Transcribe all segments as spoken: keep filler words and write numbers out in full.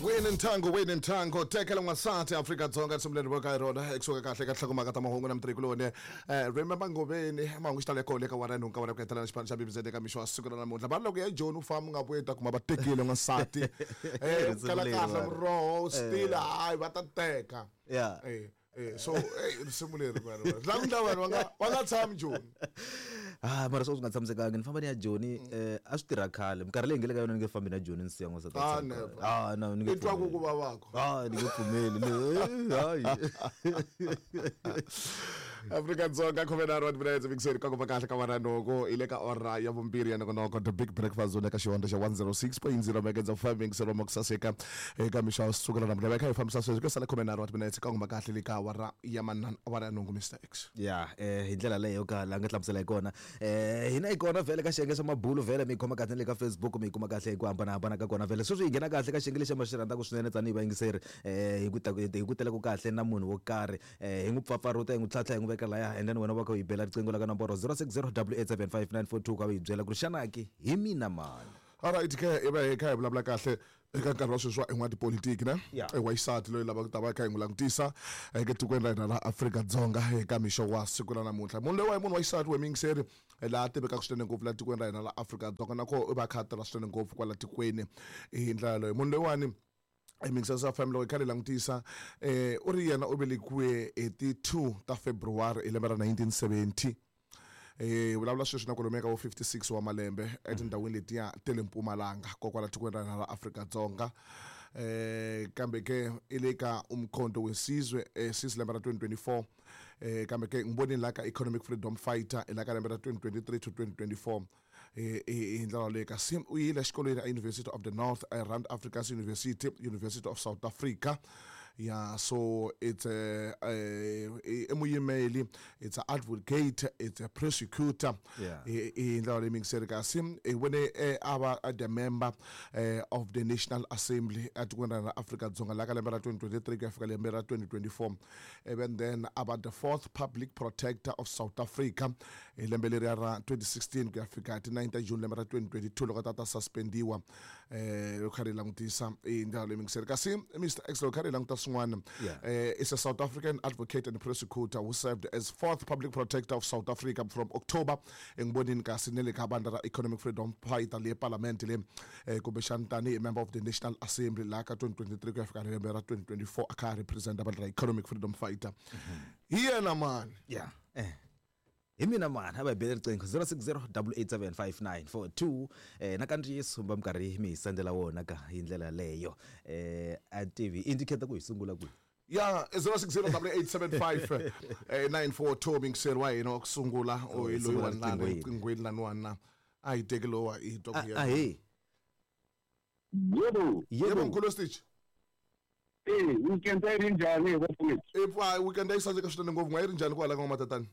Wini nthango wini nthango tekela n'wansati Afrika-Dzonga risimu leri voka hi rona ekusuka kahle ka nhlokomhaka ta mahungu na mutirhikuloni um remember Ngoveni mahungu xi tala kona eka wara nhungu ka wara ku hetelela xipano xa B B Z eka mixo wa siku ra namuntlha vanhu loko ya Joni u famba u nga vuyi ta kuma va tekile n'wansati um kala kahle muroho stila hayi va ta teka Yeah. Eh, eh, so eh risimu leri vanhu la ku ndla vanhu va nga va nga tshami Joni Ah, mara swo swi nga tshamisekanga ni famba ni ya Joni eh a swi tirha khale minkarhi leyi nge le ka yona ni nge fambi na Joni ni siya n'wansati a Ah, tshama never. kaya. Ah, no ni nge i twa ku pfumeli. ku vavako Ah, ni nge pfumeli ni hayi Afrika-Dzonga khume nharhu wa timinetse mikiseni ka kuma kahle ka wara nhungu hi le ka ora ya vumbirhi ya nongonoko the big breakfast zone eka xihondzo xa one zero six point zero megahertz of five mikiseni wa kusaseka eka mixo wa siku ra namuntlha va kha hi fambisa sweswi ku sala khume nharhu wa timinetse ka kuma kahle le ka awara ya manana awara ya nhungu Mister X ya eh hi ndlela leyo ka la nga hlamusela hi kona eh hina hi kona vhele ka xiyenge xa mabulu vhele mi yi khoma kahle na le ka Facebook mi yi kuma kahle hi ku hambanahambana ka kona vhele sweswi hi nghena kahle ka xiyenge lexi ma xi rhandzaka swinene tanihi vayingiseri eh hi ku ta hi ku tela ku kahle na munhu wo karhi eh hi n'wi pfapfarhuta hi n'wi tlhantlha hi n'wi veka laya and then wena va kha u yi bela riqingho la ka nomboro zero six zero double eight seven five nine four two ka u yi byela ku ri xana ke hi mina mani alright ke i va hi kha hi vulavula kahle eka nkarhi wa sweswi wa i n'watipolitiki ne Yeah. i wa xisati loyi lavaka ku ta va kha hi n'wi langutisa eka tikweni ra hina ra Afrika-Dzonga eka mixo wa siku ra namuntlha munhu loyi wa hi munhu wa xisati we muyingiseri laha tivekaka swinene ngopfu laha tikweni ra hina ra Afrika-Dzonga na koho i va a kha a tirha swinene ngopfu kwala tikweni hi ndlela yaleyo munhu loyiwani mixers F M loko hi kha hi langutisa eh u ri yena u velekiwe hi ti two ta February hi lembe ra nineteen seventy eh vulavula sweswi na kwalomu ka vo fifty-six wa malembe etindhawini letiya ta le Mpumalanga kokwala tikweni ra hina ra Afrika-Dzonga eh kambe ke i le ka Umkhonto weSizwe eh since lembe ra twenty twenty-four eh kambe ke ngibonile la ka Economic Freedom Fighter la ka lembe ra twenty twenty-three to twenty twenty-four eh hi ndlela leyi kasi u yile exikolweni a University of the North a Rand African University University of South Africa yeah so it's a i muyimeli it's a advocate it's a prosecutor Yeah. hi ndlela leyi mingiseri kasi hi vone a va the member of the National Assembly etikweni ra Afrika-Dzonga la ka lembe ra twenty twenty-three ku ya fika lembe ra twenty twenty-four even then about the fourth public protector of South Africa hi lembe leriya ra twenty sixteen ku ya fika ti nine ta June lembe ra twenty twenty-two loko ta ta suspendiwa eh loko kha ri langutisa hi ndlela leyi mingiseri kasi Mister X loko kha ri languta swin'wana Yeah. eh is a South African advocate and prosecutor who served as fourth public protector of South Africa from October engibonini kasi ne le ka bandla ra Economic Freedom Fighter le parliament le eh kumbexana tanihi member of the National Assembly la ka twenty twenty-three ku ya fika lembe ra twenty twenty-four a kha represent bandla ra Economic Freedom Fighter hi yena mani yeah eh hi mina mani a va hi bele riqingho zero six zero double eight seven five nine four two eh na kandziyiso va minkarhi mi hi sendela wona ka hi ndlela leyo eh a tivi indicator ku hi sungula kwihi ya zero six zero double eight seven five eh nine four two mingiseri wa hina wa ku sungula Oh, o hi loyi sungula wa lana riqingho yini? riqinghweni laniwani na a hi teki lowa hi twa ku a yena. a hi Yebo. Yebo yebo mkhulu Stitch Eh, weekend ayi ri njhani bafowethu? e pfa weekend a yi saseka swinene ngopfu n'wa yi ri njhani kwala ka n'wamatatani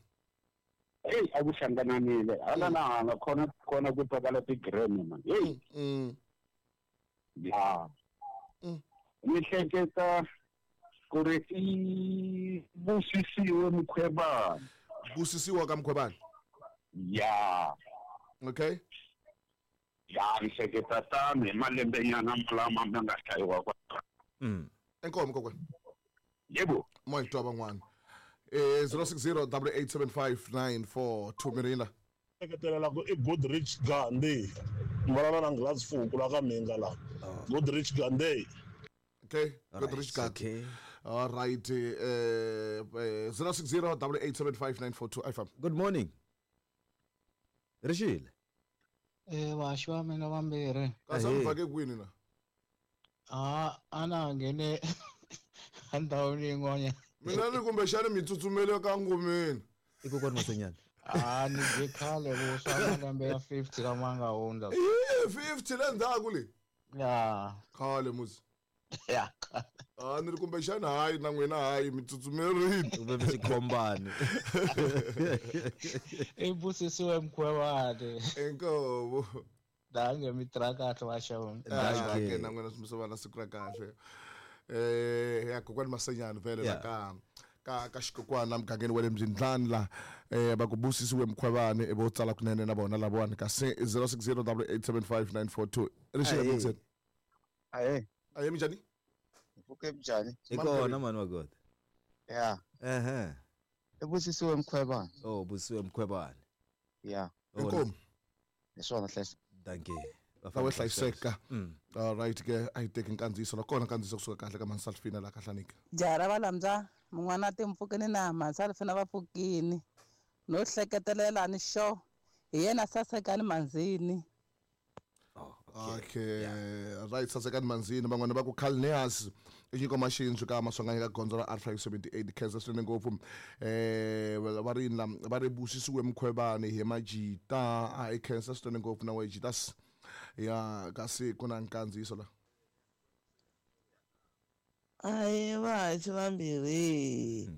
Hey, a ku hlangananile. Hala na hala khona khona ku twakala ti-gram man. Hey, mm ya. Mm. Ni hleketa ku ri i busisiwe Mkhwebane. Busisiwa ka Mkhwebane. Ya. Okay. Ya, ni hleketa tano hi malembenyana lama ma nga hlayiwa kwa. mm Inkomo kokwana. Yebo. Mo hi twa van'wana. Eh zero six zero double eight seven five nine four two Mirina. Hleketelela ku i Goodrich Gandhi. Ni vulavula na Nghilazi Fuku la ka Mhinga la. Goodrich Gandhi. Okay, All Goodrich right, Gandhi. okay. All right, eh eh zero six zero double eight seven five nine four two F M. Good morning. Rixile. Eh vaxi va mina vambirhi. Kasi Ahee. mi vhake kwini na? A a na nghene endhawini yin'wanyana. Mina ni kumbexani mi tsutsumele ka ngomeni. I kokwani Masenyana. A ni dye khale vuswa malembe ya fifty lama nga hundza. Eh fifty le ndzhaku le. Ya. Khale musi. Ya. A ni ri kumbexani hayi na n'wina hayi mi tsutsumerile. Kumbe mi xikhombani. I busisiwe Mkhwebane. Inkomo. Dange mi tirha kahle vaxavuni. Danke. Ke na n'wina swi mi va na siku ra kahle. Eh ya kokwani Masenyana vhele la Yeah. ka ka ka xikokwana mugangeni wa le Mzindlani la eh va ku busisiwe Mkhwebane i vo tsala kunene na vona lavawani kasi zero six zero double eight seven five nine four two Rixile Ahee. Mixen. Ahee. Ahee minjhani? Pfuke njhani? Hi kona mani wa God. Ya. Ehe. I Busisiwe Mkhwebane. Oh, Busisiwe Mkhwebane. Ya. Inkomu. Hi swona hlayisa. Dankie. Lawe hlayiseka. All right ke a yi teki nkandziyiso la kona nkandziyiso kusuka kahle ka Mansalfina la kahlanika. Jara va lamza mun'wana timpfukini na Mansalfina va pfukini. No hleketelela ni xo hi yena Sasekani Manzini. Oh, okay. Yeah. Right, Sasekani Manzini van'wana va ku Calneas i nyiko maxinzu ka Maswanganyi ka gondzo ra R five seventy-eight Kansas swinene ngopfu eh va ri la va ri Busisiwe Mkhwebane hi Majita a i Kansas swinene ngopfu na Wajitas ya kasi ku na nkandziyiso la. Ayi vahaxi vambirhi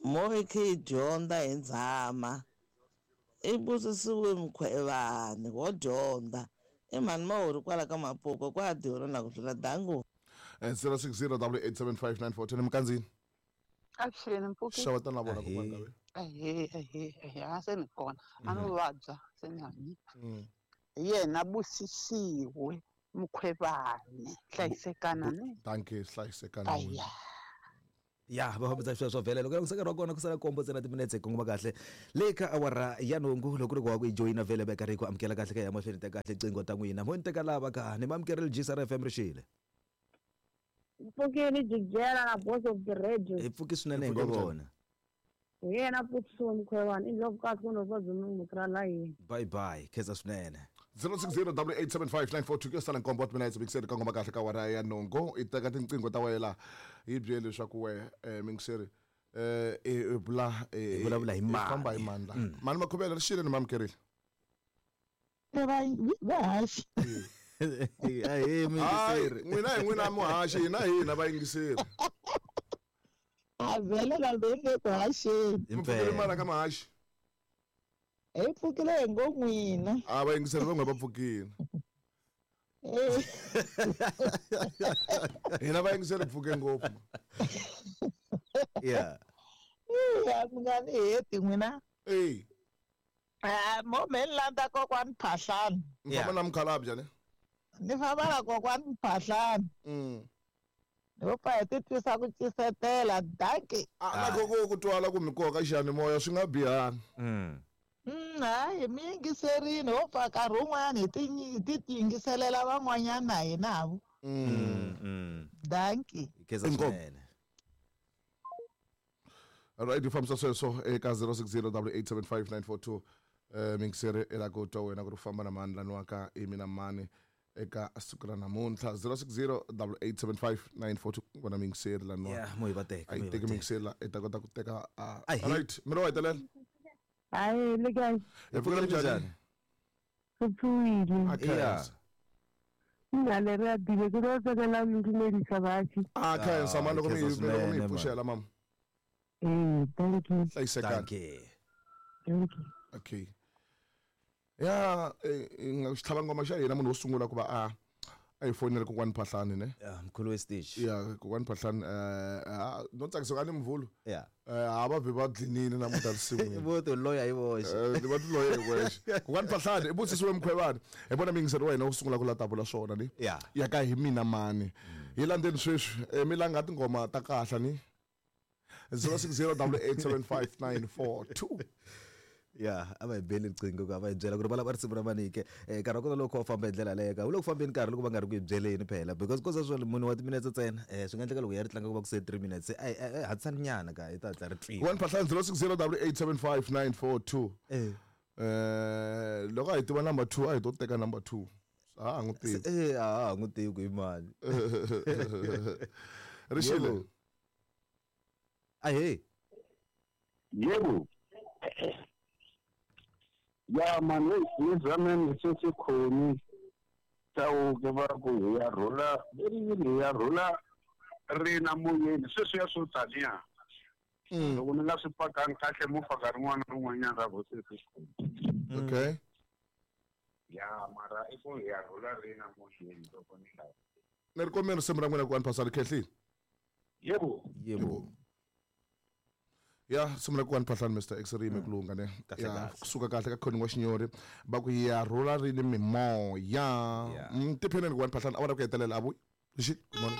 mo hi khe hi dyondza hi ndzama i Busisiwe Mkhwebane wo dyondza i mhani mahori kwala ka Mapuko kwa dihori na ku tlula dangu. zero six zero eight eight seven five nine four ten mkanzini. Avuxeni Mpfuki. Xava na vona kokwana ka wena. Ahee ahee ahee a se ni kona a no vabya se ni hanyi. Hi yena Busisiwe Mkhwebane hlayisekana ni. Dankie hlayisekana. Ya va fambisa sweswo vhele loko ku saka kona ku sala kombo ntsena timinetse hi kongoma kahle le ka awara ya nhungu loko loko wa ku yi joyina vhele va karhi ku amukela kahle ka ya mahlweni ta kahle qingho ta n'wina mo ni teka lava ka ni mamukerile G S R F M rixile. Mpfukile Jijela na Boss of the Radio. Hi pfuki swinene hi ngo vona. Hi yena Busisiwe Mkhwebane i ndlovukazi ku novabyi munhu la yini. Bye bye khensa swinene. zero six zero eight eight seven five nine four two ke sala nkombo wa timinetse mingiseri ka ngoma kahle ka awara ya nhungu i teka tinqingho ta wena hi byele leswaku we mingiseri eh i bula i vulavula hi mani famba hi mani la mani Makhuvela rixile ni mamukerile. Va vahaxi. Ahee mingiseri n'wina hi n'wina muhaxi hina hina vayingiseri. A vhele la le ku haxeni. Mpfukile mara ka mahaxi. Hi pfukile hi ngo n'wina. A vayingiseri van'we va pfukile. Hina vayingiseri pfuke ngopfu. Yeah. Ya mi nga ni heti n'wina. Eh. Ah, mo me landa kokwani Phahlane. Mi famba na mukhalabye ne? Ni famba na kokwani Phahlane. Mm. Ni pfa hi ti twisa ku cisetela dankie. A na koko ku twala ku mi koka xiyanimoya swi nga bihanga. Mm. Mm, hayi mi yingiserini ho pfa nkarhi wun'wanyana hi ti hi ti yingiselela van'wanyana na hina vo. Mm. Mm. Dankie. Khensa swinene. Right, hi fambisa sweswo eka zero six zero eight eight seven five nine four two eh mingiseri i la ku twa wena ku ri famba na mani laniwa ka i mina mani eka siku ra namuntlha zero six zero eight eight seven five nine four two vona mingiseri laniwa. Yeah, mo hi va teka. A yi teki mingiseri la i ta kota ku teka. Ahee. Right, mina wa hetelela. Hayi le kae. Hi pfukile njhani? Hi pfukile. A khensa. Nna le re a dile ke tlo tsakela ho dumedisa bahaši. A khensa mani loko mi loko mi hi pfuxela mama. Eh, thank you. Hlayisekani. Dankie. Thank you. Okay. Ya xitlhava ngoma xa hina munhu wo sungula ku va a a hi fonele kokwani Phahlane ne? Ya mkhulu we stage. Ya kokwani Phahlane eh no tsakisa ka ni mvulu. Ya. Eh a va vhe va dlinile namuntlha risimu. Vo to loya hi voxe. Eh va ti loya hi voxe. Kokwani Phahlane i Busisiwe Mkhwebane. Hi vona mingiseri wa hina wo sungula ku la ta vula swona ni. Ya. Ya ka hi mina mani. Hi landzeni sweswi mi langa tingoma ta kahle ni. zero six zero eight eight seven five nine four two. Ya a va hi beli riqingho ku a va hi byela ku ri va lava risimu ra manike eh nkarhi wa kona loko u famba hi ndlela leyo ka wu le ku fambeni nkarhi loko va nga ri ku hi byeleni phela because ko sweswo munhu wa timinetse ntsena eh swi nga endleka loko ya ri tlanga ku va ku se three minutes ai ai hatlisani nyana ka hi ta hatla ri twiwa. One Phahlane zero six zero eight eight seven five nine four two. Eh eh loko a hi tiva number two a hi to teka number two. A ha n'wi tivi. Eh a ha n'wi tivi ku i mani. Rixile. Ahee. Yebo. Ya mani ni zameni sesikhoni Chauke va ku hi ya rhula leri yini hi ya rhula ri na moyeni sweswiya swo taniya loko ni nga swi pakangi kahle mo faka rin'wana na rin'wanyana ra vosesi. Okay. Ya mara i ku hi ya rhula ri na moyeni loko ni lava. Ni ri kombela risimu ra n'wina ku Phahlane khehlile. Yebo. Yebo. Ya risimu ra ku Phahlane Mister X ri yime ku lunga ne. Ya kusuka kahle ka Khoni wa Xinyori va ku ya rhula ri ni mimoya. Tipheneni ku Phahlane a va ra ku hetelela a vuyi. Good morning.